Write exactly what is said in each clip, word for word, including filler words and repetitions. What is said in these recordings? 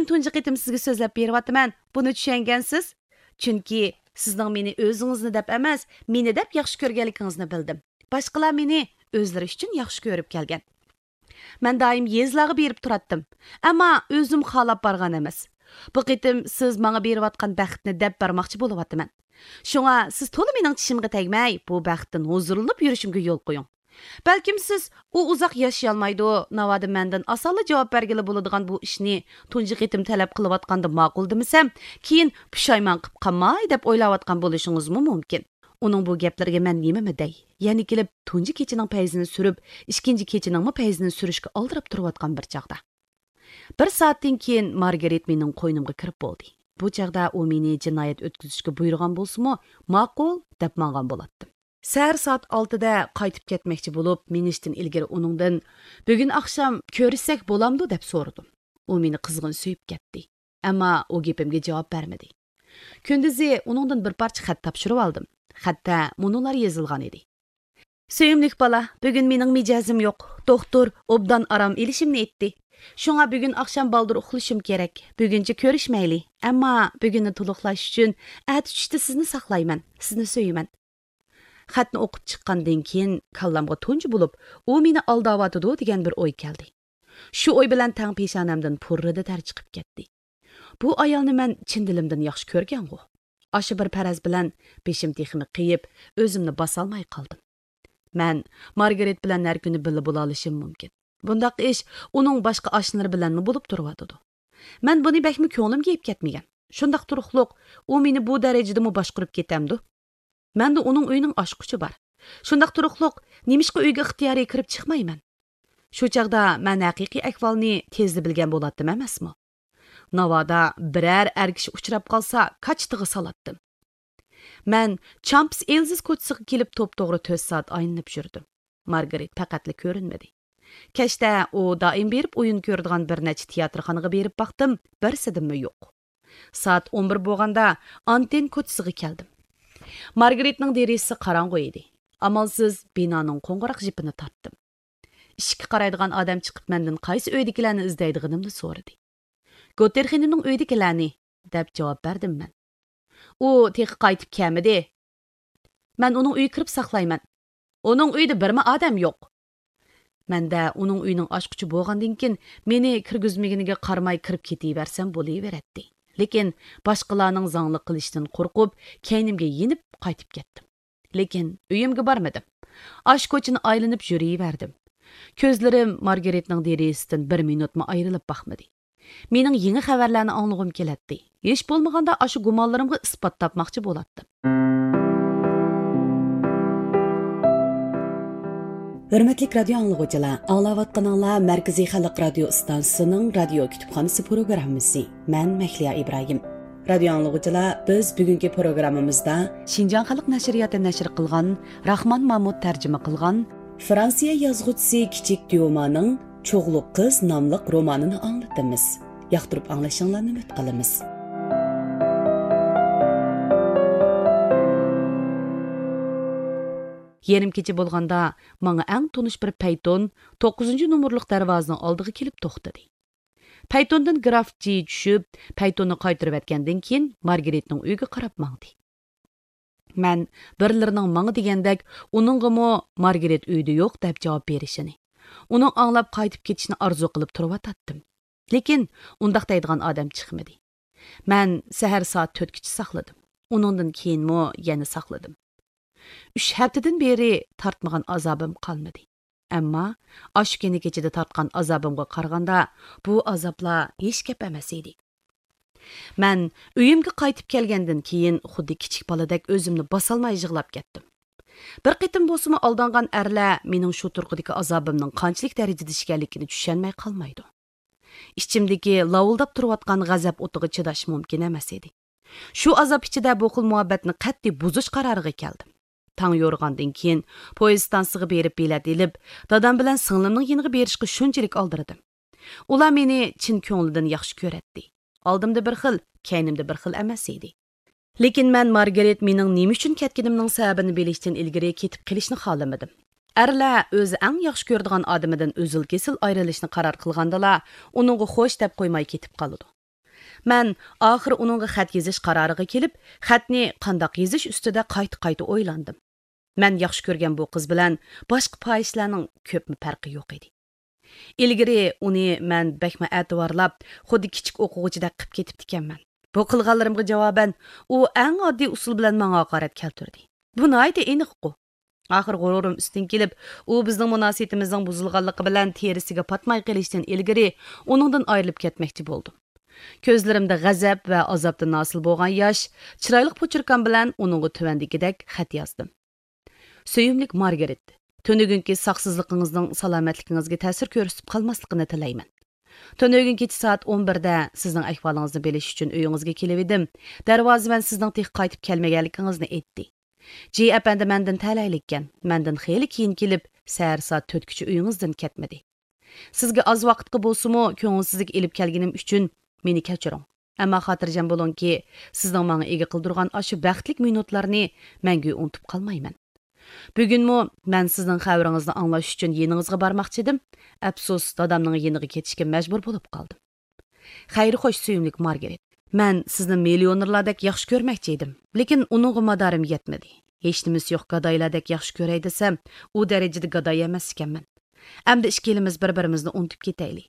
تۇنجى قېتىم سىزگە سۆزلەپ بېرىۋاتىمەن. بۇنى چۈشەنگەنسىز؟ چۈنكى سىزنىڭ مېنى ئۆزىڭىزنى دەپ ئەمەس، مېنى دەپ ياخشى كۆرگەنلىكىڭىزنى بىلدىم. باشقىلار مېنى ئۆزلىرى ئۈچۈن ياخشى كۆرۈپ كەلگەن. مەن دائىم يېزىلارغا بېرىپ تۇراتتىم. ئەمما ئۆزۈم خالاپ بارغان ئەمەس. بۇ قېتىم سىز ماڭا بېرىۋاتقان بەختنى دەپ بەرمەكچى بولۇۋاتىمەن. شۇڭا سىز تولا مېنىڭ چىشىمغا تەگمەي، بۇ بەختتىن ھۇزۇرلىنىپ يۈرۈشۈمگە يول قويۇڭ. بەلكىم سىز، «ئۇ ئۇزاق ياشىيالمايدۇ، ناۋادا مەندىن ئاسانلا جاۋاب بەرگىلى بولىدىغان بۇ ئىشنى تۇنجى قېتىم تەلەپ قىلىۋاتقاندا ماقۇل دېمىسەم، كېيىن پۇشايمان قىپ قالماي» دەپ ئويلاۋاتقان بولۇشىڭىزمۇ مۇمكىن. ئۇنىڭ بۇ گەپلىرىگە مەن نېمىمۇ دەي؟ يەنە كېلىپ تۇنجى كېچىنىڭ پەيزىنى سۈرۈپ، ئىككىنچى كېچىنىڭمۇ پەيزىنى سۈرۈشكە ئالدىراپ تۇرۇۋاتقان بىر چاغدا. بىر سائەتتىن كېيىن مارگارىت مېنىڭ قوينۇمغا كىرىپ بولدى. بۇ چاغدا ئۇ مېنى جىنايەت ئۆتكۈزۈشكە بۇيرۇغان بولسىمۇ، «ماقۇل» دەپ ماڭغان بولاتتىم. سەھەر سائەت ئالتىدە قايتىپ كەتمەكچى بولۇپ، مېڭىشتىن ئىلگىرى ئۇنىڭدىن، «بۈگۈن ئاخشام كۆرۈشسەك بولامدۇ؟» دەپ سورىدىم. ئۇ مېنى قىزغىن سۆيۈپ كەتتى. ئەمما ئۇ گېپىمگە جاۋاب بەرمىدى. كۈندۈزى ئۇنىڭدىن بىر پارچە خەت تاپشۇرۇۋالدىم. خەتتە مۇنۇلار يېزىلغان ئىدى: «سۆيۈملۈك بالا، بۈگۈن مېنىڭ مىجەزىم يوق. دوختۇر ئوبدان ئارام ئېلىشىمنى ئېيتتى. شۇڭا بۈگۈن ئاخشام بالدۇر ئۇخلىشىم كېرەك. بۈگۈنچە كۆرۈشمەيلى. ئەمما بۈگۈننى تولۇقلاش ئۈچۈن ئەتە چۈشتە سىزنى ساقلايمەن، سىزنى سۆيىمەن.» خەتنى ئوقۇپ چىققاندىن كېيىن، كاللامغا تۇنجى بولۇپ، «ئۇ مېنى ئالداۋاتىدۇ» دېگەن بىر ئوي كەلدى. شۇ ئوي بىلەن تەڭ پېشانەمدىن پۇررىدە تەر چىقىپ كەتتى. بۇ ئايالنى مەن چىن دىلىمدىن ياخشى كۆرگەنغۇ. ئاشۇ بىر پەرەز بىلەن بېشىم تېخىمۇ قېيىپ، ئۆزۈمنى باسالماي قالدىم. مەن مارگارېت بىلەن ھەر كۈنى بىللە بولالىشىم مۇمكىن. بۇنداق ئىش ئۇنىڭ باشقا ئاشنىلىرى بىلەنمۇ بولۇپ تۇرۇۋاتىدۇ. مەن بۇنى بەكمۇ كۆڭلۈمگە ئېلىپ كەتمىگەن. شۇنداق تۇرۇقلۇق، ئۇ مېنى بۇ دەرىجىدىمۇ باشقۇرۇپ كېتەمدۇ؟ مەندە ئۇنىڭ ئۆيىنىڭ ئاچقۇچى بار. شۇنداق تۇرۇقلۇق، نېمىشقا ئۆيگە ئىختىيارىي كىرىپ چىقمايمەن؟ شۇ چاغدا مەن ھەقىقىي ئەھۋالنى تېزلا بىلگەن بولاتتىم ئەمەسمۇ؟ ناۋادا بىرەر ئەر كىشى ئۇچراپ قالسا، كاچىتىغا سالاتتىم. مەن چامپس ئېلزىس كوچىسىغا كېلىپ توپتوغرا تۆت سائەت ئايلىنىپ يۈردۈم. مارگارېت پەقەتلا كۆرۈنمىدى. كەچتە ئۇ دائىم بېرىپ ئويۇن كۆرىدىغان بىر نەچچە تىياتىرخانىغا بېرىپ باقتىم، بىرسىدىمۇ يوق. سائەت ئون بىر بولغاندا ئانتېن كوچىسىغا كەلدىم. مارگارېتنىڭ دېرىزىسى قاراڭغۇ ئىدى. ئامالسىز بىنانىڭ قوڭغۇراق جىپىنى تارتتىم. ئىشىككە قارايدىغان ئادەم چىقىپ مەندىن قايسى ئۆيدىكىلەرنى ئىزدەيدىغىنىمنى سورىدى. «گوتېرخېننىڭ ئۆيىدىكىلەرنى» دەپ جاۋاب بەردىم مەن. «ئۇ تېخى قايتىپ كەلمىدى.» «مەن ئۇنىڭ ئۆيىگە كىرىپ ساقلايمەن.» «ئۇنىڭ ئۆيىدە بىرمۇ ئادەم يوق.» مەندە ئۇنىڭ ئۆيىنىڭ ئاچقۇچى بولغاندىن كېيىن، مېنى كىرگۈزمىگىنىگە قارىماي كىرىپ كېتىۋەرسەم بولۇۋېرەتتى. لېكىن باشقىلارنىڭ زاڭلىق قىلىشىدىن قورقۇپ، كەينىمگە يېنىپ قايتىپ كەتتىم. لېكىن ئۆيۈمگە بارمىدىم. ئاشۇ كوچىنى ئايلىنىپ يۈرۈۋەردىم. كۆزلىرىم مارگارېتنىڭ دېرىزىسىدىن بىر مىنۇتمۇ ئايرىلىپ باقمىدى. مېنىڭ يېڭى خەۋەرلەرنى ئاڭلىغۇم كېلەتتى. ھېچ بولمىغاندا ئاشۇ گۇمانلىرىمغا ئىسپات تاپماقچى بولاتتىم. ھۆرمەتلىك رادىيو ئاڭلىغۇچىلار، ئاڭلاۋاتقىنىڭلار مەركىزىي خەلق رادىيو ئىستانسىسىنىڭ رادىيو كۇتۇپخانىسى پروگراممىسى. مەن مەھلىيا ئىبراھىم. رادىيو ئاڭلىغۇچىلار، بىز بۈگۈنكى پروگراممىمىزدا شىنجاڭ خەلق نەشرىياتى نەشر قىلغان، راخمان مامۇت تەرجىمە قىلغان، فرانسىيە يازغۇچىسى كىچىك ديومانىڭ چوغلۇق قىز ناملىق رومانىنى ئاڭلىتىمىز. ياقتۇرۇپ ئاڭلىشىڭلارنى ئۈمىد قىلىمىز. يېرىم كېچە بولغاندا، ماڭا ئەڭ تونۇش بىر پەيتون توققۇزىنچى نومۇرلۇق دەرۋازىنىڭ ئالدىغا كېلىپ توختىدى. پەيتوندىن گراف جى چۈشۈپ، پەيتوننى قايتۇرۇۋەتكەندىن كېيىن، مارگرېتنىڭ ئۆيىگە قاراپ ماڭدى. مەن بىرلىرىنىڭ ماڭا دېگەندەك، ئۇنىڭغىمۇ «مارگرېت ئۆيدە يوق» دەپ جاۋاب بېرىشىنى، ئۇنىڭ ئاڭلاپ قايتىپ كېتىشىنى ئارزۇ قىلىپ تۇرۇۋاتاتتىم. لېكىن ئۇنداق دەيدىغان ئادەم چىقمىدى. مەن سەھەر سائەت تۆتكىچە ساقلىدىم. ئۇنىڭدىن كېيىنمۇ يەنە ساقلىدىم. ئۈچ ھەپتىدىن بېرى تارتمىغان ئازابىم قالمىدى. ئەمما ئاشۇ كۈنى كېچىدە تارتقان ئازابىمغا قارىغاندا، بۇ ئازابلار ھېچ گەپ ئەمەس ئىدى. مەن ئۆيۈمگە قايتىپ كەلگەندىن كېيىن، خۇددى كىچىك بالىدەك ئۆزۈمنى باسالماي يىغلاپ كەتتىم. بىر قېتىم بولسىمۇ ئالدانغان ئەرلەر مېنىڭ شۇ تۇرقىدىكى ئازابىمنىڭ قانچىلىك دەرىجىدە ئىكەنلىكىنى چۈشەنمەي قالمايدۇ. ئىچىمدىكى لاۋۇلداپ تۇرۇۋاتقان غەزەپ ئوتىغا چىداش مۇمكىن ئەمەس ئىدى. شۇ ئازاب ئىچىدە بۇ خىل مۇھەببەتنى قەتئىي بۇزۇش قارارىغا كەلدىم. تاڭ يورۇغاندىن كېيىن، پويىز ستانسىغا بېرىپ بېلەت ئېلىپ، دادام بىلەن سىڭلىمنىڭ يېنىغا بېرىشقا شۇنچىلىك ئالدىرىدىم. ئۇلار مېنى چىن كۆڭلىدىن ياخشى كۆرەتتى. ئالدىمدا بىر خىل، كەينىمدە بىر خىل ئەمەس ئىدى. لېكىن مەن مارگرېت مېنىڭ نېمە ئۈچۈن كەتكىنىمنىڭ سەۋەبىنى بىلىشتىن ئىلگىرى كېتىپ قېلىشنى خالىمىدىم. ئەرلەر ئۆزى ئەڭ ياخشى كۆرىدىغان ئادىمىدىن ئۈزۈل-كېسىل ئايرىلىشنى قارار قىلغاندىلا، ئۇنىڭغا خوش دەپ قويماي كېتىپ قالىدۇ. مەن ئاخىرى ئۇنىڭغا خەت يېزىش قارارىغا كېلىپ، خەتنى قانداق يېزىش ئۈستىدە قايتا-قايتا ئويلاندىم. مەن ياخشى كۆرگەن بۇ قىز بىلەن باشقا پاھىشلەرنىڭ كۆپمۇ پەرقى يوق ئىدى. ئىلگىرى ئۇنى مەن بەكمۇ ئەتىۋارلاپ، خۇددى كىچىك ئوقۇغۇچىدەك قىپ كېتىپتىكەنمەن. بۇ قىلغانلىرىمغا جاۋابەن، ئۇ ئەڭ ئاددىي ئۇسۇل بىلەن ماڭا ھاقارەت كەلتۈردى. بۇ ناھايىتى ئېنىققۇ. ئاخىر غۇرۇرۇم ئۈستۈن كېلىپ، ئۇ بىزنىڭ مۇناسىۋىتىمىزنىڭ بۇزۇلغانلىقى بىلەن تېرىسىگە پاتماي قېلىشتىن ئىلگىرى ئۇنىڭدىن ئايرىلىپ كەتمەكچى بولدۇم. كۆزلىرىمدە غەزەپ ۋە ئازابتىن ھاسىل بولغان ياش، چىرايلىق پوچۇركام بىلەن ئۇنىڭغا تۆۋەندىكىدەك خەت يازدىم. سۆيۈملۈك مارگىرىت، تۈنۈگۈنكى ساقسىزلىقىڭىزنىڭ سالامەتلىكىڭىزگە تەسىر كۆرسىتىپ قالماسلىقىنى تىلەيمەن. تۈنۈگۈن كېچە سائەت ئون بىردە سىزنىڭ ئەھۋالىڭىزنى بىلىش ئۈچۈن ئۆيىڭىزگە كېلىۋىدىم. دەرۋازىۋەن سىزنىڭ تېخى قايتىپ كەلمىگەنلىكىڭىزنى ئېيتتى. جى ئەپەندى مەندىن تەلەيلىككەن، مەندىن خېلى كېيىن كېلىپ، سەھەر سائەت تۆتكىچە ئۆيىڭىزدىن كەتمىدى. سىزگە ئاز ۋاقىتقا بولسىمۇ كۆڭۈلسىزلىك ئېلىپ كەلگىنىم ئۈچۈن مېنى كەچۈرۈڭ. ئەمما خاتىرجەم بولۇڭكى، سىزنىڭ ماڭا ئىگە قىلدۇرغان ئاشۇ بەختلىك مىنۇتلارنى مەڭگۈ ئۇنتۇپ قالمايمەن. بۈگۈنمۇ مەن سىزنىڭ خەۋىرىڭىزنى ئاڭلاش ئۈچۈن يېنىڭىزغا بارماقچى ئىدىم. ئەپسۇس، دادامنىڭ يېنىغا كېتىشكە مەجبۇر بولۇپ قالدىم. خەير خوش، سۆيۈملۈك مارگرېت. مەن سىزنى مىليونېرلاردەك ياخشى كۆرمەكچى ئىدىم، لېكىن ئۇنىڭغا مادارىم يەتمىدى. ھېچنېمىسى يوق گادايلاردەك ياخشى كۆرەي دېسەم، ئۇ دەرىجىدە گاداي ئەمەس ئىكەنمەن. ئەمدى ئىككىلىمىز بىر-بىرىمىزنى ئۇنتۇپ كېتەيلى.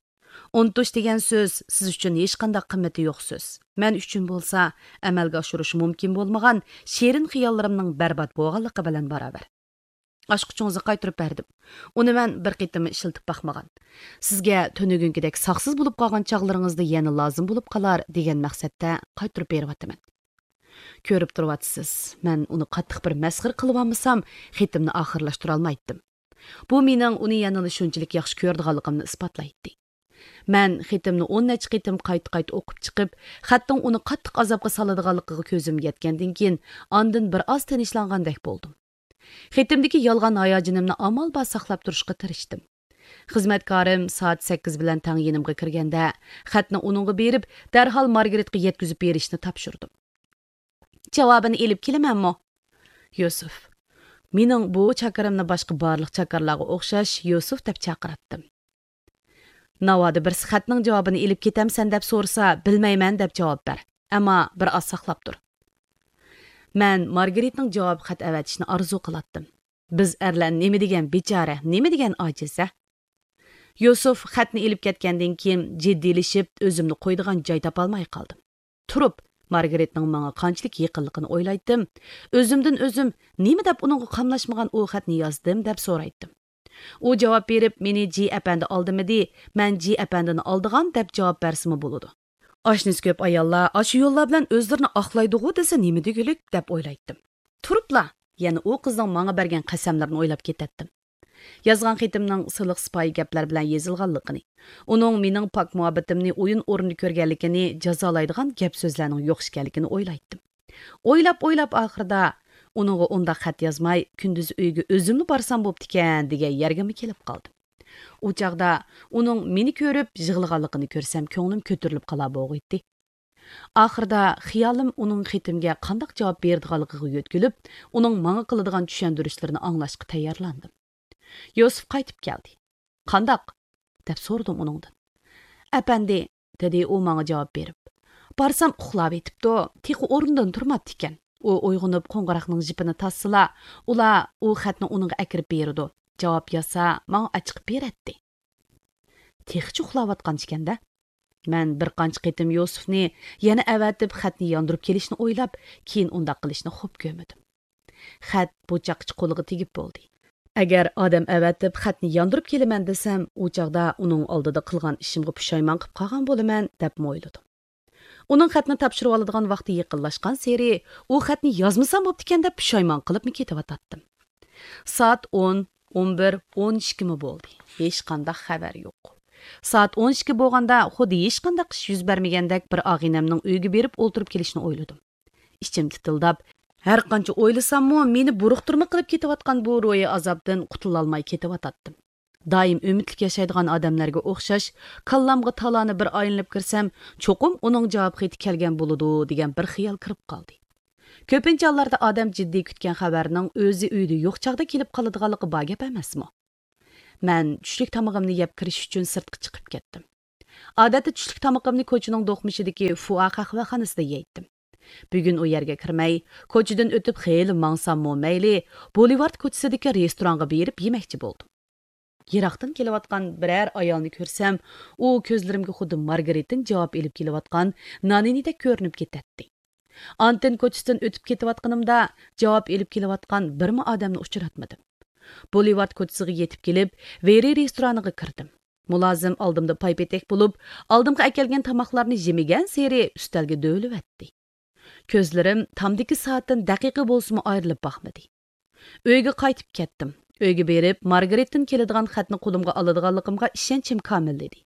ئۇنتۇش دېگەن سۆز سىز ئۈچۈن ھېچقانداق قىممىتى يوق سۆز. مەن ئۈچۈن بولسا ئەمەلگە ئاشۇرۇش مۇمكىن بولمىغان شېرىن خىياللىرىمنىڭ بەربات بولغانلىقى بىلەن باراۋەر. ئاچقۇچىڭىزنى قايتۇرۇپ بەردىم. ئۇنى مەن بىر قېتىممۇ ئىشلىتىپ باقمىغان. سىزگە تۈنۈگۈنكىدەك ساقسىز بولۇپ قالغان چاغلىرىڭىزدا يەنە لازىم بولۇپ قالار دېگەن مەقسەتتە قايتۇرۇپ بېرىۋاتىمەن. كۆرۈپ تۇرۇۋاتىسىز، مەن ئۇنى قاتتىق بىر مەسخىرە قىلىۋالمىسام، خېتىمنى ئاخىرلاشتۇرالمايتتىم. بۇ مېنىڭ ئۇنى يەنىلا شۇنچىلىك ياخشى كۆرىدىغانلىقىمنى ئىسپاتلايتتى. مەن خېتىمنى ئون نەچچە قېتىم قايتا-قايتا ئوقۇپ چىقىپ، خەتنىڭ ئۇنى قاتتىق ئازابقا سالىدىغانلىقىغا كۆزۈم يەتكەندىن كېيىن، ئاندىن بىر ئاز تىنچلاندەك بولدۇم. خېتىمدىكى يالغان ھاياجىنىمنى ئامال بار ساقلاپ تۇرۇشقا تىرىشتىم. خىزمەتكارىم سائەت سەككىز بىلەن تەڭ يېنىمغا كىرگەندە، خەتنى ئۇنىڭغا بېرىپ، دەرھال مارگرېتقا يەتكۈزۈپ بېرىشنى تاپشۇردۇم. جاۋابىنى ئېلىپ كېلىمەنمۇ؟ يۈسۈف. مېنىڭ بۇ چاكىرىمنى باشقا بارلىق چاكارلارغا ئوخشاش يۈسۈف دەپ چاقىراتتىم. ناۋادا بىرسى خەتنىڭ جاۋابىنى ئېلىپ كېتەمسەن دەپ سورىسا، بىلمەيمەن دەپ جاۋاب بەر. ئەمما بىر ئاز ساقلاپ تۇر. مەن مارگرېتنىڭ جاۋاب خەت ئەۋەتىشىنى ئارزۇ قىلاتتىم. بىز ئەرلەر نېمە دېگەن بىچارە، نېمە دېگەن ئاجىز، ھە؟ يۈسۈف خەتنى ئېلىپ كەتكەندىن كېيىن جىددىيلىشىپ، ئۆزۈمنى قويىدىغان جاي تاپالماي قالدىم. تۇرۇپ، مارگرېتنىڭ ماڭا قانچىلىك يېقىنلىقىنى ئويلايتتىم. ئۆزۈمدىن ئۆزۈم، نېمە دەپ ئۇنىڭغا قاملاشمىغان ئۇ خەتنى يازدىم دەپ سورايتتىم. ئۇ جاۋاب بېرىپ، مېنى جى ئەپەندى ئالدىمىدى، مەن جى ئەپەندىنى ئالدىغان دەپ جاۋاب بەرسىمۇ بولىدۇ. ئاشنىسى كۆپ ئاياللار ئاشۇ يوللار بىلەن ئۆزلىرىنى ئاقلايدىغۇ دېسە نېمە دېگۈلۈك دەپ ئويلايتتىم. تۇرۇپلا، يەنە ئۇ قىزنىڭ ماڭا بەرگەن قەسەملىرىنى ئويلاپ كېتەتتىم. يازغان خېتىمنىڭ سىلىق-سىپايى گەپلەر بىلەن يېزىلغانلىقىنى، ئۇنىڭ مېنىڭ پاك مۇھەببىتىمنى ئويۇن ئورنىدا كۆرگەنلىكىنى جازالايدىغان گەپ-سۆزلەرنىڭ يوق ئىكەنلىكىنى ئويلايتتىم. ئويلاپ-ئويلاپ ئاخىرىدا ئۇنىڭغا ئۇنداق خەت يازماي، كۈندۈز ئۆيگە ئۆزۈملا بارسام بوپتىكەن دېگەن يەرگىمۇ كېلىپ قالدىم. ئۇ چاغدا ئۇنىڭ مېنى كۆرۈپ يىغلىغانلىقىنى كۆرسەم، كۆڭلۈم كۆتۈرۈلۈپ قالار بوغۇيتتى. ئاخىرىدا خىيالىم ئۇنىڭ خېتىمگە قانداق جاۋاب بېرىدىغانلىقىغا يۆتكىلىپ، ئۇنىڭ ماڭا قىلىدىغان چۈشەندۈرۈشلىرىنى ئاڭلاشقا تەييارلاندىم. يۈسۈف قايتىپ كەلدى. «قانداق؟» دەپ سورىدىم ئۇنىڭدىن. «ئەپەندى»، دېدى ئۇ ماڭا جاۋاب بېرىپ. بارسام ئۇخلاۋېتىپتۇ، تېخى ئورنىدىن تۇرماپتىكەن. ئۇ ئويغىنىپ قوڭغۇراقنىڭ جىپىنى تارتسىلا، ئۇلار ئۇ خەتنى ئۇنىڭغا ئەكىرىپ بېرىدۇ. جاۋاب يازسا، ماڭا ئاچىقىپ بېرەتتى. تېخىچە ئۇخلاۋاتقان ئىكەن-دە. مەن بىر قانچە قېتىم يۈسۈفنى يەنە ئەۋەتىپ خەتنى ياندۇرۇپ كېلىشنى ئويلاپ، كېيىن ئۇنداق قىلىشنى خوپ كۆرمىدىم. خەت بۇ چاغقىچە قولىغا تېگىپ بولدى. ئەگەر ئادەم ئەۋەتىپ خەتنى ياندۇرۇپ كېلىمەن دېسەم، ئۇ چاغدا ئۇنىڭ ئالدىدا قىلغان ئىشىمغا پۇشايمان قىپ قالغان بولىمەن دەپمۇ ئويلىدىم. ئۇنىڭ خەتنى تاپشۇرۇۋالىدىغان ۋاقتى يېقىنلاشقانسېرى، ئۇ خەتنى يازمىسام بوپتىكەن دەپ پۇشايمان قىلىپمۇ كېتىۋاتاتتىم. سائەت ئون، ئون بىر، ئون ئىككىمۇ بولدى. ھېچقانداق خەۋەر يوق. سائەت ئون ئىككى بولغاندا خۇددى ھېچقانداق ئىش يۈز بەرمىگەندەك بىر ئاغىنەمنىڭ ئۆيىگە بېرىپ ئولتۇرۇپ كېلىشنى ئويلىدىم. ئىچىم تىتىلداپ، ھەرقانچە ئويلىساممۇ، مېنى بۇرۇقتۇرما قىلىپ كېتىۋاتقان بۇ روھىي ئازابتىن قۇتۇلالماي كېتىۋاتاتتىم. دائىم ئۈمىدلىك ياشايدىغان ئادەملەرگە ئوخشاش، كاللامغا تالانى بىر ئايلىنىپ كىرسەم، چوقۇم ئۇنىڭ جاۋاب خېتى كەلگەن بولىدۇ، دېگەن بىر خىيال كىرىپ قالدى. كۆپىنچە ھاللاردا ئادەم جىددىي كۈتكەن خەۋەرنىڭ ئۆزى ئۆيدە يوق چاغدا كېلىپ قالىدىغانلىقى بار گەپ ئەمەسمۇ؟ مەن چۈشلۈك تامىقىمنى يەپ كىرىش ئۈچۈن سىرتقا چىقىپ كەتتىم. ئادەتتە چۈشلۈك تامىقىمنى كوچىنىڭ دوقمۇشىدىكى فۇئا قەھۋەخانىسىدا يەيتتىم. بۈگۈن ئۇ يەرگە كىرمەي، كوچىدىن ئۆتۈپ خېلى ماڭساممۇ مەيلى، بولىۋارد كوچىسىدىكى رېستورانغا بېرىپ يېمەكچى بولدۇم. يىراقتىن كېلىۋاتقان بىرەر ئايالنى كۆرسەم، ئۇ كۆزلىرىمگە خۇددى مارگارىتتىن جاۋاب ئېلىپ كېلىۋاتقان نانىنىدەك كۆرۈنۈپ كېتەتتى. ئانتېن كوچىسىدىن ئۆتۈپ كېتىۋاتقىنىمدا، جاۋاب ئېلىپ كېلىۋاتقان بىرمۇ ئادەمنى ئۇچراتمىدىم. بولىۋارد كوچىسىغا يېتىپ كېلىپ، ۋېرى رېستورانىغا كىردىم. مۇلازىم ئالدىمدا پايپېتەك بولۇپ، ئالدىمغا ئەكەلگەن تاماقلارنى يېمىگەنسېرى ئۈستەلگە دۆۋىلىۋەتتى. كۆزلىرىم تامدىكى سائەتتىن دەقىقە بولسىمۇ ئايرىلىپ باقمىدى. ئۆيگە قايتىپ كەتتىم. ئۆيگە بېرىپ، مارگارىتتىن كېلىدىغان خەتنى قولۇمغا ئالىدىغانلىقىمغا ئىشەنچىم كامىللىدى.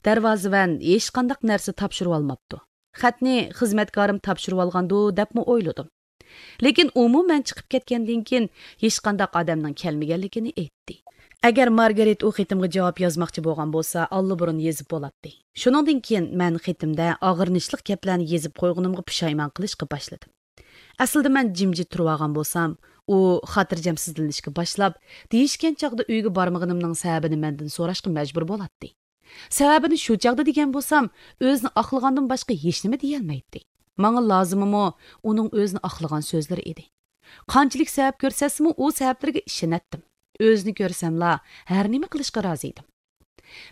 دەرۋازىۋەن ھېچقانداق نەرسە تاپشۇرۇۋالماپتۇ. خەتنى خىزمەتكارىم تاپشۇرۇۋالغاندۇ، دەپمۇ ئويلىدىم. لېكىن ئۇمۇ مەن چىقىپ كەتكەندىن كېيىن ھېچقانداق ئادەمنىڭ كەلمىگەنلىكىنى ئېيتتى. ئەگەر مارگارىت ئۇ خېتىمغا جاۋاب يازماقچى بولغان بولسا، ئاللىبۇرۇن يېزىپ بولاتتى. شۇنىڭدىن كېيىن مەن خېتىمدە ئاغرىنىشلىق گەپلەرنى يېزىپ قويغىنىمغا پۇشايمان قىلىشقا باشلىدىم. ئەسلىدە مەن جىمجىت تۇرۇۋالغان بولسام، ئۇ خاتىرجەمسىزلىنىشكە باشلاپ، دېيىشكەن چاغدا ئۆيگە بارمىغىنىمنىڭ سەۋەبىنى مەندىن سوراشقا مەجبۇر بولاتتى. سەۋەبىنى شۇ چاغدا دېگەن بولسام، ئۆزىنى ئاقلىغاندىن باشقا ھېچنېمە دېيەلمەيتتى. ماڭا لازىمىمۇ ئۇنىڭ ئۆزىنى ئاقلىغان سۆزلىرى ئىدى. قانچىلىك سەۋەب كۆرسەتسىمۇ، ئۇ سەۋەبلىرىگە ئىشىنەتتىم. ئۆزىنى كۆرسەملا، ھەر نېمە قىلىشقا رازى ئىدىم.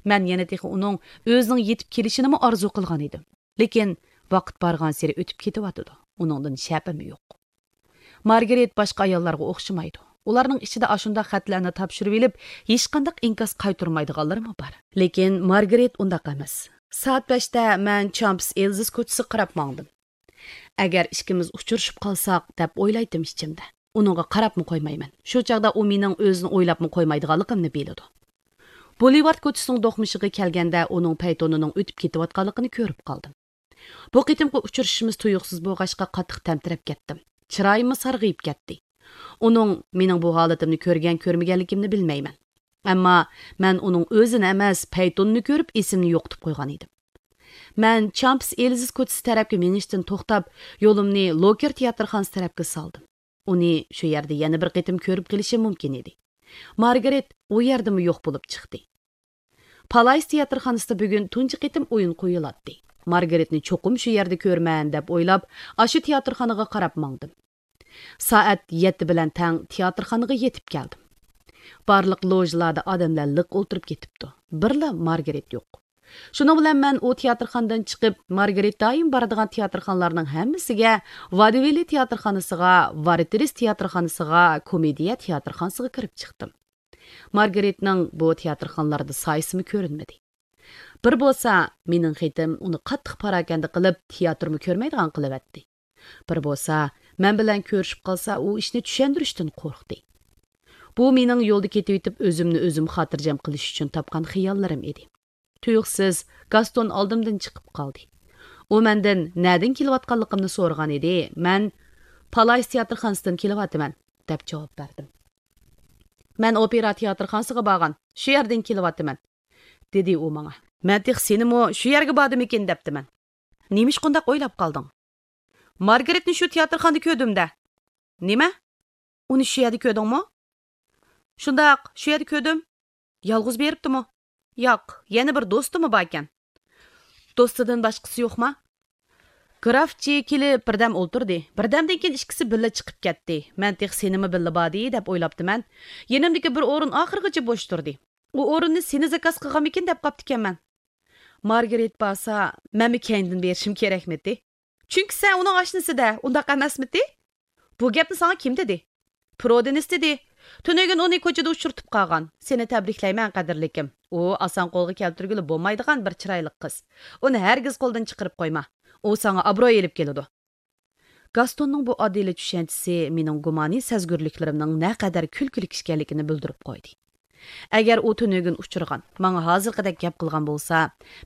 مەن يەنە تېخى ئۇنىڭ ئۆزىنىڭ يېتىپ كېلىشىنىمۇ ئارزۇ قىلغان ئىدىم. لېكىن ۋاقىت بارغانسېرى ئۆتۈپ كېتىۋاتىدۇ. ئۇنىڭدىن شەپىم يوق. مارگرېت باشقا ئاياللارغا ئوخشىمايدۇ. ئۇلارنىڭ ئىچىدە ئاشۇنداق خەتلەرنى تاپشۇرۇۋېلىپ، ھېچقانداق ئىنكاس قايتۇرمايدىغانلىرىمۇ بار. لېكىن مارگرېت ئۇنداق ئەمەس. سائەت بەشتە مەن چامپس ئېلزىس كوچىسىغا قاراپ ماڭدىم. ئەگەر ئىككىمىز ئۇچرىشىپ قالساق، دەپ ئويلايتتىم ئىچىمدە. ئۇنىڭغا قاراپمۇ قويمايمەن. شۇ چاغدا ئۇ مېنىڭ ئۆزىنى ئويلاپمۇ قويمايدىغانلىقىمنى بىلىدۇ. بولىۋارد كوچىسىنىڭ دوقمۇشىغا كەلگەندە، ئۇنىڭ پەيتونىنىڭ ئۆتۈپ كېتىۋاتقانلىقىنى كۆرۈپ قالدىم. بۇ قېتىمقى ئۇچرىشىشىمىز تۇيۇقسىز بولغاچقا، قاتتىق تەمتىرەپ كەتتىم. چىرايىممۇ سارغىيىپ كەتتى. ئۇنىڭ مېنىڭ بۇ ھالىتىمنى كۆرگەن-كۆرمىگەنلىكىمنى بىلمەيمەن. ئەمما مەن ئۇنىڭ ئۆزىنى ئەمەس، پەيتوننى كۆرۈپ، ئېسىمنى يوقىتىپ قويغان ئىدىم. مەن چامپس ئېلزىس كوچىسى تەرەپكە مېڭىشتىن توختاپ، يولۇمنى لوكېر تىياتىرخانىسى تەرەپكە سالدىم. ئۇنى شۇ يەردە يەنە بىر قېتىم كۆرۈپ قېلىشىم مۇمكىن ئىدى. مارگرېت ئۇ يەردىمۇ يوق بولۇپ چىقتى. پالايس تىياتىرخانىسىدا بۈگۈن تۇنجى قېتىم ئويۇن قويۇلاتتى. مارگرېتنى چوقۇم شۇ يەردە كۆرىمەن، دەپ ئويلاپ، ئاشۇ تىياتىرخانىغا قاراپ ماڭدىم. سائەت يەتتە بىلەن تەڭ تىياتىرخانىغا يېتىپ كەلدىم. بارلىق لوژىلاردا ئادەملەر لىق ئولتۇرۇپ كېتىپتۇ. بىرلا مارگرېت يوق. شۇنىڭ بىلەن مەن ئۇ تىياتىرخانىدىن چىقىپ، مارگرېت دائىم بارىدىغان تىياتىرخانىلارنىڭ ھەممىسىگە، ۋادىۋىللى تىياتىرخانىسىغا، ۋارتېرىس تىياتىرخانىسىغا، كومېدىيە تىياتىرخانىسىغا كىرىپ چىقتىم. مارگرېتنىڭ بۇ تىياتىرخانىلاردا سايىسىمۇ كۆرۈنمىدى. بىر بولسا، مېنىڭ خېتىم ئۇنى قاتتىق پاراكەندە قىلىپ، تىياتىرمۇ كۆرمەيدىغان قىلىۋەتتى. بىر بولسا، مەن بىلەن كۆرۈشۈپ قالسا، ئۇ ئىشنى چۈشەندۈرۈشتىن قورقتى. بۇ مېنىڭ يولدا كېتىۋېتىپ، ئۆزۈمنى ئۆزۈم خاتىرجەم قىلىش ئۈچۈن تاپقان خىياللىرىم ئىدى. تۇيۇقسىز گاستون ئالدىمدىن چىقىپ قالدى. ئۇ مەندىن نەدىن كېلىۋاتقانلىقىمنى سورىغان ئىدى. مەن پالايس تىياتىرخانىسىدىن كېلىۋاتىمەن، دەپ جاۋاب بەردىم. مەن ئوپېرا تىياتىرخانىسىغا بارغان، شۇ يەردىن كېلىۋاتىمەن، دېدى ئۇ ماڭا. مەن تېخى سېنىمۇ شۇ يەرگە باردىمىكىن دەپتىمەن. نېمىشقا ئۇنداق ئويلاپ قالدىڭ؟ مارگرېتنى شۇ تىياتىرخانىدا كۆردۈم-دە. نېمە؟ ئۇنى شۇ يەردە كۆردۈڭمۇ؟ شۇنداق، شۇ يەردە كۆردۈم. يالغۇز بېرىپتىمۇ؟ ياق، يەنە بىر دوستىمۇ باركەن. دوستىدىن باشقىسى يوقما؟ گراف چېكىلى بىردەم ئولتۇردى. بىردەمدىن كېيىن ئىككىسى بىللە چىقىپ كەتتى. مەن تېخى سېنىمۇ بىللە باردى دەپ ئويلاپتىمەن. يېنىمدىكى بىر ئورۇن ئاخىرغىچە بوش تۇردى. ئۇ ئورۇننى سېنى زاكاز قىلغانمىكىن دەپ قاپتىكەنمەن. مارگرېت بارسا، مەنمۇ كەينىدىن بېرىشىم كېرەكمىتى؟ چۈنكى سەن ئۇنىڭ ئاشنىسى-دە، ئۇنداق ئەمەسمىتى؟ بۇ گەپنى ساڭا كىم دېدى؟ پرودېنس دېدى. تۈنۈگۈن ئۇنى كوچىدا ئۇچرىتىپ قالغان. سېنى تەبرىكلەيمەن، قەدىرلىكىم. ئۇ ئاسان قولغا كەلتۈرگىلى بولمايدىغان بىر چىرايلىق قىز. ئۇنى ھەرگىز قولدىن چىقىرىپ قويما. ئۇ ساڭا ئابرۇي ئېلىپ كېلىدۇ. گاستوننىڭ بۇ ئاددىيلا چۈشەنچىسى مېنىڭ گۇمانىي سەزگۈرلۈكلىرىمنىڭ نەقەدەر كۈلكىلىك ئىكەنلىكىنى بىلدۈرۈپ قويدى. ئەگەر ئۇ تۈنۈگۈن ئۇچرىغان، ماڭا ھازىرقىدەك گەپ قىلغان بولسا،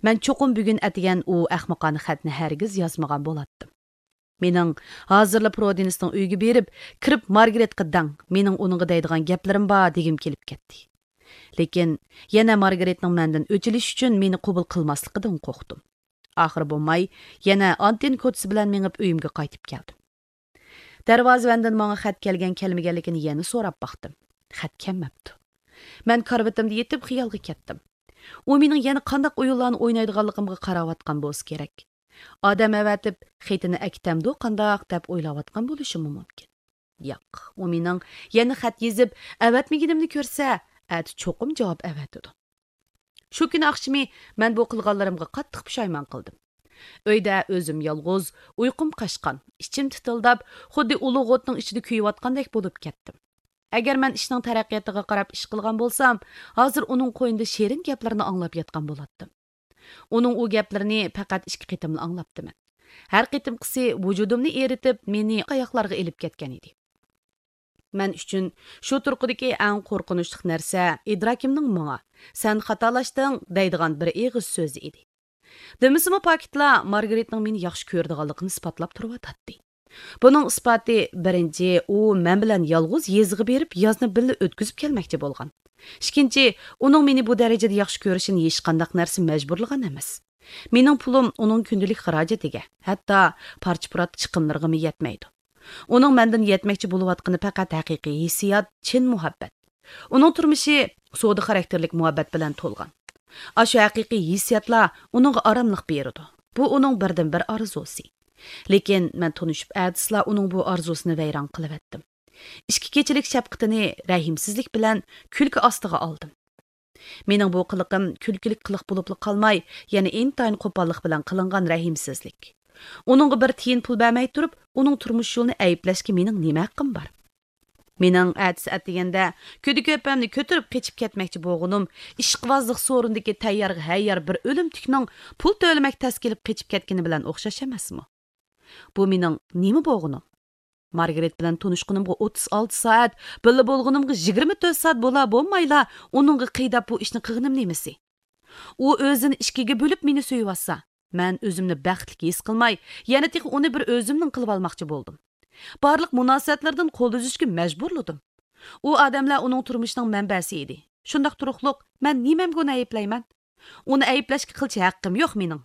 مەن چوقۇم بۈگۈن ئەتىگەن ئۇ ئەخمىقانە خەتنى ھەرگىز يازمىغان بولاتتىم. مېنىڭ ھازىرلا پرودېنسنىڭ ئۆيىگە بېرىپ، كىرىپ مارگرېتقا دەڭ، مېنىڭ ئۇنىڭغا دەيدىغان گەپلىرىم بار دېگۈم كېلىپ كەتتى. لېكىن يەنە مارگرېتنىڭ مەندىن ئۆچ ئېلىش ئۈچۈن مېنى قوبۇل قىلماسلىقىدىن قورقتۇم. ئاخىرى بولماي، يەنە ئانتېن كوچىسى بىلەن مېڭىپ ئۆيۈمگە قايتىپ كەلدىم. دەرۋازىۋەندىن ماڭا خەت كەلگەن كەلمىگەنلىكىنى يەنە سوراپ باقتىم. خەت كەلمەپتۇ. مەن كارىۋىتىمدا يېتىپ خىيالغا كەتتىم. ئۇ مېنىڭ يەنە قانداق ئويۇنلارنى ئوينايدىغانلىقىمغا قاراۋاتقان بولسا كېرەك. ئادەم ئەۋەتىپ، خېتىنى ئەكېتەمدۇ قانداق دەپ ئويلاۋاتقان بولۇشىمۇ مۇمكىن. ياق، ئۇ مېنىڭ يەنە خەت يېزىپ، ئەۋەتمىگىنىمنى كۆرسە، ئەتە چوقۇم جاۋاب ئەۋەتىدۇ. شۇ كۈنى ئاخشىمى مەن بۇ قىلغانلىرىمغا قاتتىق پۇشايمان قىلدىم. ئۆيدە ئۆزۈم يالغۇز، ئۇيقۇم قاچقان، ئىچىم تىتىلداپ، خۇددى ئۇلۇغ ئوتنىڭ ئىچىدە كۆيۈۋاتقاندەك بولۇپ كەتتىم. ئەگەر مەن ئىشنىڭ تەرەققىياتىغا قاراپ ئىش قىلغان بولسام، ھازىر ئۇنىڭ قوينىدا شېرىن گەپلىرىنى ئاڭلاپ ياتقان بولاتتىم. ئۇنىڭ ئۇ گەپلىرىنى پەقەت ئىككى قېتىملا ئاڭلاپتىمەن. ھەر قېتىمقىسى ۋۇجۇدۇمنى ئېرىتىپ، مېنى ئاياقلارغا ئېلىپ كەتكەن ئىدى. مەن ئۈچۈن شۇ تۇرقىدىكى ئەڭ قورقۇنچلۇق نەرسە ئىدراكىمنىڭ ماڭا، «سەن خاتالاشتىڭ» دەيدىغان بىر ئېغىز سۆزى ئىدى. دېمىسىمۇ، پاكىتلا مارگرېتنىڭ مېنى ياخشى كۆرىدىغانلىقىنى ئىسپاتلاپ تۇرۇۋاتاتتى. بۇنىڭ ئىسپاتى، بىرىنچى، ئۇ مەن بىلەن يالغۇز يېزىغا بېرىپ، يازنى بىللە ئۆتكۈزۈپ كەلمەكچى بولغان. ئىككىنچى، ئۇنىڭ مېنى بۇ دەرىجىدە ياخشى كۆرۈشىنى ھېچقانداق نەرسە مەجبۇرلىغان ئەمەس. مېنىڭ پۇلۇم ئۇنىڭ كۈندىلىك خىراجىتىگە، ھەتتا پارچە-پۇرات چىقىملىرىغىمۇ يەتمەيدۇ. ئۇنىڭ مەندىن يەتمەكچى بولۇۋاتقىنى پەقەت ھەقىقىي ھېسسىيات، چىن مۇھەببەت. ئۇنىڭ تۇرمۇشى سودا خاراكتېرلىك مۇھەببەت بىلەن تولغان. ئاشۇ ھەقىقىي ھېسسىياتلار ئۇنىڭغا ئاراملىق بېرىدۇ. بۇ ئۇنىڭ بىردىنبىر ئارزۇسى. لېكىن مەن تونۇشۇپ ئەتىسىلا ئۇنىڭ بۇ ئارزۇسىنى ۋەيران قىلىۋەتتىم. ئىچكى كېچىلىك شەپقىتىنى رەھىمسىزلىك بىلەن كۈلكە ئاستىغا ئالدىم. مېنىڭ بۇ قىلىقىم كۈلكىلىك قىلىق بولۇپلا قالماي، يەنە ئىنتايىن قوپاللىق بىلەن قىلىنغان رەھىمسىزلىك. ئۇنىڭغا بىر تىيىن پۇل بەرمەي تۇرۇپ، ئۇنىڭ تۇرمۇش يولىنى ئەيىبلەشكە مېنىڭ نېمە ھەققىم بار؟ مېنىڭ ئەتىسى ئەتىگەندە كۈدە-كۆپەمنى كۆتۈرۈپ قېچىپ كەتمەكچى بولغىنىم ئىشقىۋازلىق سورۇنىدىكى تەييارغا ھەييار بىر ئۆلۈمتۈكنىڭ پۇل تۆلىمەك تەس كېلىپ قېچىپ كەتكىنى بىلەن ئوخشاش ئەمەسمۇ؟ بۇ مېنىڭ نېمە بولغىنىم؟ مارگرېت بىلەن تونۇشقىنىمغا ئوتتۇز ئالتە سائەت، بىللە بولغىنىمغا يىگىرمە تۆت سائەت بولا بولمايلا، ئۇنىڭغا قىيداپ بۇ ئىشنى قىلغىنىم نېمىسى؟ ئۇ ئۆزىنى ئىككىگە بۆلۈپ مېنى سۆيۈۋاتسا، مەن ئۆزۈمنى بەختلىك ھېس قىلماي، يەنە تېخى ئۇنى بىر ئۆزۈمنىڭ قىلىۋالماقچى بولدۇم. بارلىق مۇناسىۋەتلىرىدىن قول ئۈزۈشكە مەجبۇرلىدىم. ئۇ ئادەملەر ئۇنىڭ تۇرمۇشىنىڭ مەنبەسى ئىدى. شۇنداق تۇرۇقلۇق، مەن نېمەمگە ئۇنى ئەيىبلەيمەن؟ ئۇنى ئەيىبلەشكە قىلچە ھەققىم يوق مېنىڭ.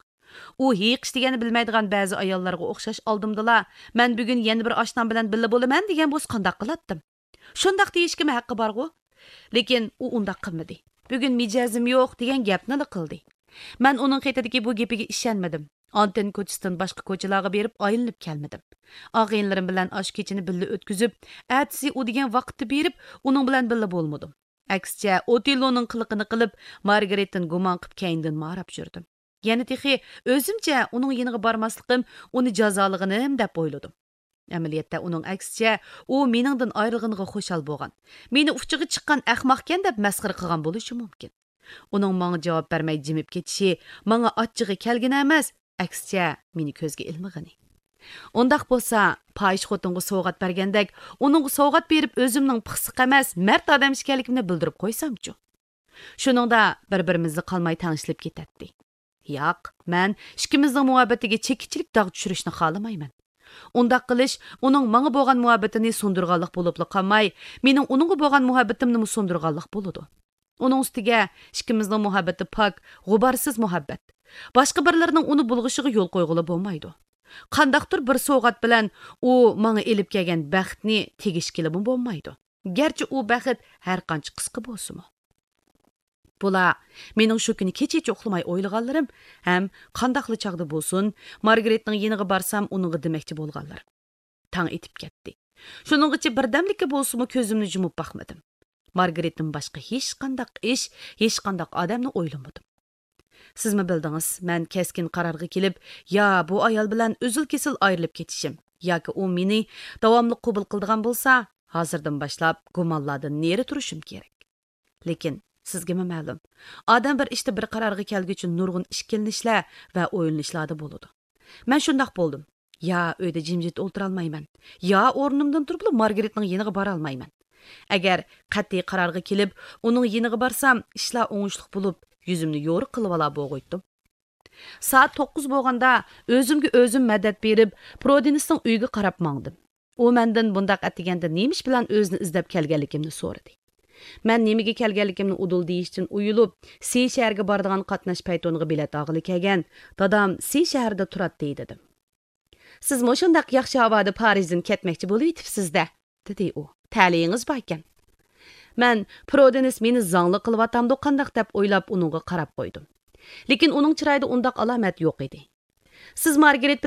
ئۇ ھېيىقىش دېگەننى بىلمەيدىغان بەزى ئاياللارغا ئوخشاش ئالدىمدىلا، «مەن بۈگۈن يەنە بىر ئاشنام بىلەن بىللە بولىمەن» دېگەن بولسا قانداق قىلاتتىم؟ شۇنداق دېيىشكىمۇ ھەققى بارغۇ؟ لېكىن ئۇ ئۇنداق قىلمىدى. «بۈگۈن مىجەزىم يوق» دېگەن گەپنىلا قىلدى. مەن ئۇنىڭ خېتىدىكى بۇ گېپىگە ئىشەنمىدىم. ئانتېن كوچىسىدىن باشقا كوچىلارغا بېرىپ ئايلىنىپ كەلمىدىم. ئاغىنىلىرىم بىلەن ئاشۇ كېچىنى بىللە ئۆتكۈزۈپ، ئەتىسى ئۇ دېگەن ۋاقىتتا بېرىپ، ئۇنىڭ بىلەن بىللە بولمىدىم. ئەكسىچە، ئوتېللونىڭ قىلىقىنى قىلىپ، مارگرېتتىن گۇمان قىلىپ، كەينىدىن ماراپ يۈردۈم. يەنە تېخى ئۆزۈمچە ئۇنىڭ يېنىغا بارماسلىقىم ئۇنى جازالىغىنىم دەپ ئويلىدىم. ئەمەلىيەتتە، ئۇنىڭ ئەكسىچە، ئۇ مېنىڭدىن ئايرىلغىنىغا خۇشال بولغان، مېنى ئۇچىغا چىققان ئەخمەقكەن دەپ مەسخىرە قىلغان بولۇشى مۇمكىن. ئۇنىڭ ماڭا جاۋاب بەرمەي جىمىپ كېتىشى ماڭا ئاچچىقى كەلگىنى ئەمەس، ئەكسىچە، مېنى كۆزگە ئىلمىغىنى. ئۇنداق بولسا، پاھىش خوتۇنغا سوۋغات بەرگەندەك، ئۇنىڭغا سوۋغات بېرىپ، ئۆزۈمنىڭ پىخسىق ئەمەس، مەرد ئادەم ئىكەنلىكىمنى بىلدۈرۈپ قويسامچۇ؟ شۇنىڭدا بىر-بىرىمىزدە قالماي تەڭشىلىپ كېتەتتى. ياق، مەن ئىككىمىزنىڭ مۇھەببىتىگە چېكىچىلىك داغ چۈشۈرۈشنى خالىمايمەن. ئۇنداق قىلىش ئۇنىڭ ماڭا بولغان مۇھەببىتىنى سۇندۇرغانلىق بولۇپلا قالماي، مېنىڭ ئۇنىڭغا بولغان مۇھەببىتىمنىمۇ سۇندۇرغانلىق بولىدۇ. ئۇنىڭ ئۈستىگە، ئىككىمىزنىڭ مۇھەببىتى پاك، غۇبارسىز مۇھەببەت. باشقا بىرلىرىنىڭ ئۇنى بۇلغىشىغا يول قويغىلى بولمايدۇ. قانداقتۇر بىر سوۋغات بىلەن ئۇ ماڭا ئېلىپ كەلگەن بەختنى تېگىشكىلىمۇ بولمايدۇ. گەرچە ئۇ بەخت ھەر قانچە قىسقا بولسىمۇ. بۇلار مېنىڭ شۇ كۈنى كېچىچە ئۇخلىماي ئويلىغانلىرىم ھەم قانداقلا چاغدا بولسۇن، مارگرېتنىڭ يېنىغا بارسام ئۇنىڭغا دېمەكچى بولغانلىرىم. تاڭ ئېتىپ كەتتى. شۇنىڭغىچە بىردەملىككە بولسىمۇ كۆزۈمنى يۇمۇپ باقمىدىم. مارگرېتتىن باشقا ھېچقانداق ئىش، ھېچقانداق ئادەمنى ئويلىمىدىم. سىزمۇ بىلدىڭىز، مەن كەسكىن قارارغا كېلىپ، يا بۇ ئايال بىلەن ئۈزۈل-كېسىل ئايرىلىپ كېتىشىم، ياكى ئۇ مېنى داۋاملىق قوبۇل قىلىدىغان بولسا، ھازىردىن باشلاپ گۇمانلاردىن نېرى تۇرۇشۇم كېرەك. لېكىن سىزگىمۇ مەلۇم، ئادەم بىر ئىشتا بىر قارارغا كەلگۈچە نۇرغۇن ئىككىلىنىشلەر ۋە ئويلىنىشلاردا بولىدۇ. مەن شۇنداق بولدۇم. يا ئۆيدە جىمجىت ئولتۇرالمايمەن، يا ئورنۇمدىن تۇرۇپلا مارگرېتنىڭ يېنىغا بارالمايمەن. ئەگەر قەتئىي قارارغا كېلىپ، ئۇنىڭ يېنىغا بارسام، ئىشلار ئوڭۇشلۇق بولۇپ، يۈزۈمنى يورۇق قىلىۋالا بوغۇيتتۇم. سائەت توققۇز بولغاندا ئۆزۈمگە ئۆزۈم مەدەت بېرىپ، پرودىنسنىڭ ئۆيىگە قاراپ ماڭدىم. ئۇ مەندىن بۇنداق ئەتىگەندە نېمە ئىش بىلەن ئۆزىنى ئىزدەپ كەلگەنلىكىمنى سورىدى. مەن نېمىگە كەلگەنلىكىمنى ئۇدۇل دېيىشتىن ئۇيىلىپ، سى شەھەرگە بارىدىغان قاتناش پەيتونىغا بېلەت ئالغىلى كەلگەن، دادام سى شەھىرىدە تۇراتتى، دېدىم. سىز مۇشۇنداق ياخشى ھاۋادا پارىژدىن كەتمەكچى بولۇۋېتىپسىز-دە، دېدى ئۇ. تەلىيىڭىز باركەن. مەن پرودېنس مېنى زاڭلىق قىلىۋاتامدۇ قانداق دەپ ئويلاپ ئۇنىڭغا قاراپ قويدۇم. لېكىن ئۇنىڭ چىرايىدا ئۇنداق ئالامەت يوق ئىدى. سىز مارگرېت